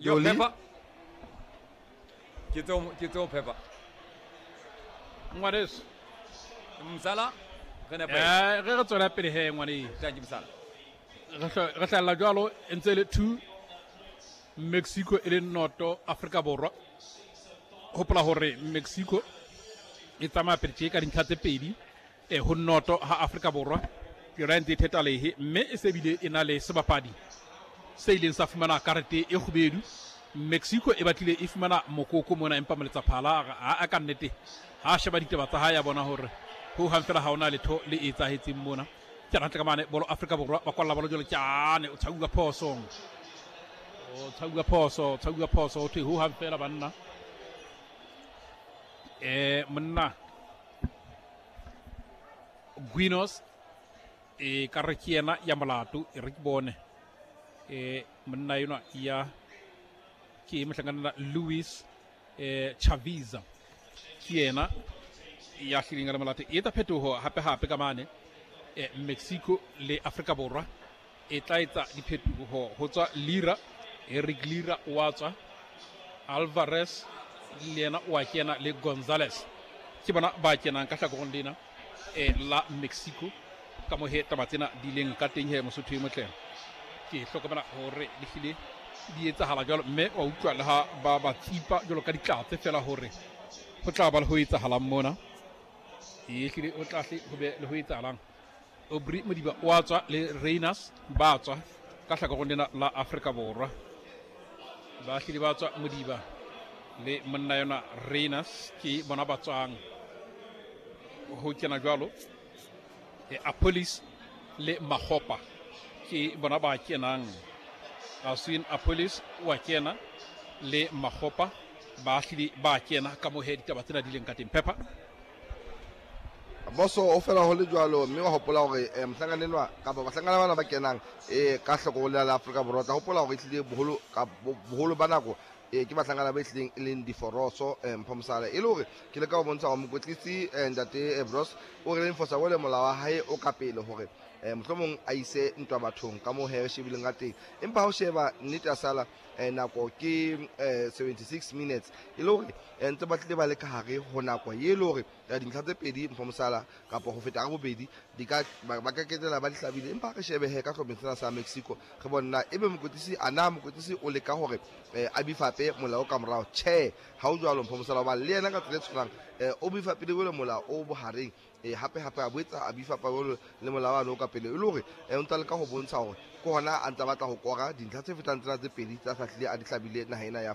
Yo Pepper. Ke tseo, ke tseo Pepper. Ngwaneso. Msala re nepa. Eh, re re tswela pele he ngwaneso. Thank you Msala. Re hlahella jwalo e ntse le 2 Mexico e le noto Afrika Borwa. Hopola hore Mexico e tsamaya pele tje ka dintlha tse pedi e ho noto ha Afrika Borwa yona e ntse e theta lehe mme e se bile e na le sebapadi se ileng sa fumana karete e kgubedu. Mexico e batlile e fumana mokoko mona empa moletsaphala a a ka nnete ha a sheba ditaba tsa hae a bona hore ho hang fela ha ona letho le etsahetseng mona. Ke hantle ka mane bolo Afrika Borwa ba kwalla bolo jwale tjane o tshauwa phoso. O tshauwa phoso, tshauwa phoso ho thwe ho hang fela banna. Eh monna Guinos e ka re ke yena ya molato e re ke bone e monna enwa ya ke mohlankana Luis e Chaviza ke yena ya hlileng a le molato e etsa phetoho hape hape ka mane e Mexico le Afrika Borwa e tla etsa diphetoho ho tswa Lira Eric Lira wa tswa Alvarez le yena o a kena le Gonzalez ke bona ba kenang ka hlakorong lena e la Mexico ka mo he taba tsena di leng ka teng he Mosotho e motle ke hlokomela hore di hlile di etsahala jwalo mme wa utlwa le ha ba ba tsipa jwalo ka ditlatse fela hore ho tla ba le ho etsahalang mona e hlile ho tla hle ho be le ho etsahalang Aubrey Modiba o a tswa le Reiners ba tswa ka hlakorong lena la Afrika Borwa ba hlile ba tswa Modiba le monna yona Reiners ke bona ba tswang ho kena jwalo e Apolis le Magopa ke bona ba kenang Aswin Apolis wa kena le Magopa ba hlile ba kena ka mohe ditaba tsena di leng ka teng Pepper. Boso o fela ho le jwalo mme wa hopola hore eh, mohlankana enwa kapa bahlankana bana ba kenang eh, ka hloko le la Afrika Borwa tla hopola hore ehlile boholo ka boholo ba nako eh, ke bahlankana ba ehlileng e leng diforoso eh, mpho mosala e le hore ke leka ho bontsha hore mokwetlisi eh, ntate eh, Bros o re enforcer wele molao wa hae o ka pele hore eh, mohlomong a ise ntwa bathong ka moo he re shebileng ka teng empa ha o sheba nnete ya sala eh, nako ke eh, 76 minutes e le hore eh, ntse ba tlile ba le ka hare ho nako ye e le hore eh, dintlha tse pedi mpho mosala kapa ho feta ka bobedi di ka ba ka ketela ba di hlabile empa re shebe he ka hlopheng sena sa Mexico re bona ebe mokwetlisi a na mokwetlisi o leka hore eh, a bifape molao ka morao tjhe ha o jwalo mpho mosala hoba le yena ka tsela e tshwanang eh, o bifapile jwalo molao o bohareng e hape hape a boetsa a bifa pabolo le molao o ka pele e le hore eh, o ntse a leka ho bontsha hore ke hona a ntse a batla ho kora dintlha tse fetang tsena tse pedi tsa hlahlile a di hlabile naha ena ya.